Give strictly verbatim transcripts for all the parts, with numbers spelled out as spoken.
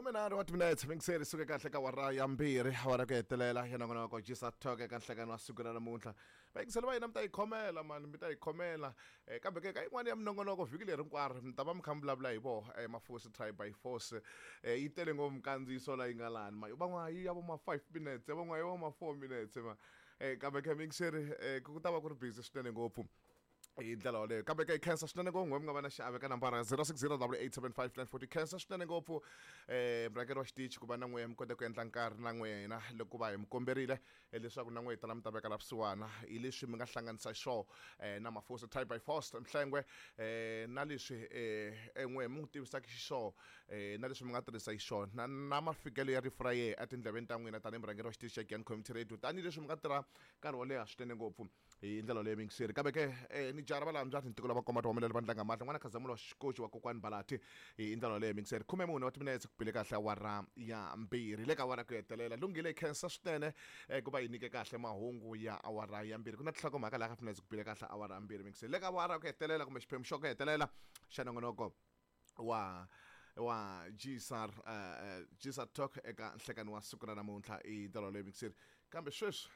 Khumenharhu wa timinetse mingiseri suke kahle ka awara ya mbirhi, awara ku hetelela ya nongonoko Gisa Talk eka nhlekani wa siku ra namuntlha. Vayingiseli va hina, mi ta yi khomela mani, mi ta yi khomela. um kambe ke ka yin'wana ya minongonoko vhiki leri hinkwaro mi ta va mi kha mi vulavula hi voho um Mafosi Tribe by Force. um yi tele ngopfu minkandziyiso la yi nga lani ma van'wana yi ya vo ma five minutes, van'wana yi vo ma four minutes ma. um kambe ke mingiseri, um ku ta va ku ri busy swinene ngopfu hi ndlela yoleyo. Kambe ke hi khensa swinene ngopfu n'we mi nga va na xiave ka nambara zero six zero double eight seven five nine forty. Khensa swinene ngopfu um murhangeri wa xitichi ku va na n'we mi kota ku endla nkarhi na n'wina loko va hi mi komberile eh, leswaku na n'we hi tala mi ta veka la vusiwana hi leswi mi nga hlanganisa xo um na Mafosi Tribe by Force Mhlengwe, um na leswi um n'we mi n'wi tivisaka xiswona, um na leswi mi nga tirhisa xiswona na, na mafikelo ya rifu ra yehe etindleveni ta n'wina tanihi murhangeri wa xitichi xa Giyani Community Radio, tanihileswi mi nga tirha nkarhi wo leha swinene ngopfu hi ndlela leyo mingiseri. Kambe ke eh, ni jara va laha ntiko lava komba tihumelela va ndlanga mahlo n'wana khazamulo wa xikoxi wa kokwani Balati hi ndlela leyo mingiseri. Khume mune wa timinetse ku bile kahle awara ya mbirhi, le ka awara ku hetelela. Lunghile, khensa swinene eh, ku va yi nyike kahle mahungu ya awara ya mbirhi. Ku na tinhlokomhaka laha ka minetse ku bile kahle awara ya mbirhi mingiseri, le ka awara ku hetelela kumbe xiphemu xo ku hetelela xa nongonoko wa wa G S R uh, G S R Talk eka nhlekani wa siku ra namuntlha hi ndlela leyo mingiseri. Kambe sweswi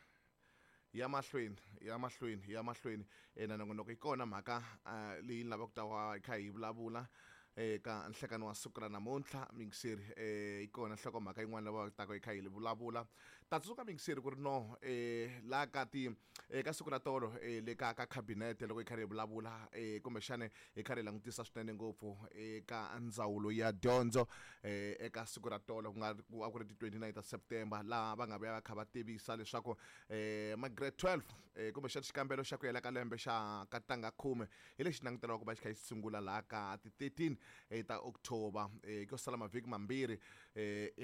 ya mahlweni, ya mahlweni, ya mahlweni eh, na nongonoko, yi kona mhaka uh, leyi ni lavaka ku ta va hi kha hi vulavula eka nhlekani wa siku ra namuntlha mingiseri. eh yi kona nhlokomhaka yin'wana lava taka hi kha hi vulavula. Ta tsundzuka mingiseri ku ri no eh la ka ti eka siku ra tolo eh le ka ka cabinet loko hi karhi hi vulavula, eh kumbexana hi karhi hi langutisa swinene ngopfu eka ndzawulo ya dyondzo, eh eka siku ra tolo ku nga a ku ri ti twenty-nine ta September, laha va nga vuya va kha va tivisa leswaku eh ma grade twelve, eh kumbexana xikambelo xa ku hela ka lembe xa ka tanga khume hi lexi languteriwaka ku va xi kha xi sungula laha ka ti thirteen eh, ta October, eh ko sala mavhiki mambirhi. eh